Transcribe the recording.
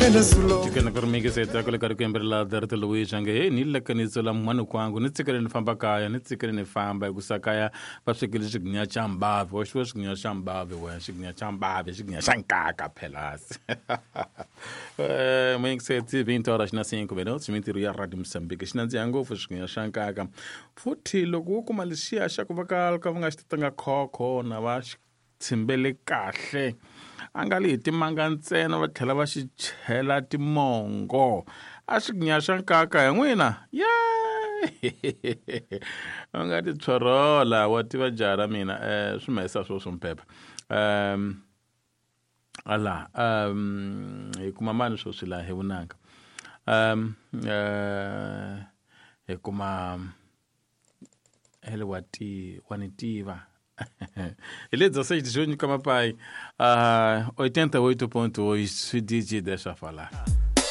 Tikena ku ri mingiseta ku le karhi ku yimbelela Derto Louis ange hey ni lekanitso la mhani kwangu ni tsikele ni famba kaya ni tsikele ni famba hikusa kaya va swekile xiginya xa mbabvi wa xiwa xiginya xa mbabvi wena xiginya xa mbabvi xiginya xa nkaka phelasi. Muyingiseti 20 horas na 5 minutos mintirho ya Radio Mozambique xi nandziha ngopfu xiginya xa nkaka futhi loko wo kuma lexiya xa ku va ka ka va nga xi tatanga khokho na va xi tshimbele kahle a nga li hi timanga ntsena va tlhela va xi chela timongo a xi nya xa nkaka hi n'wina ye u nga ti tshorola wa tiva jaha ra mina um swi mhesa swo swo mphepha um ala um hi kuma mani sweswi laha hi vunanga um hi kuma hele wa ti wa ni tiva hi le 16 de junho ka mapai 88.8 DJ deixa falar.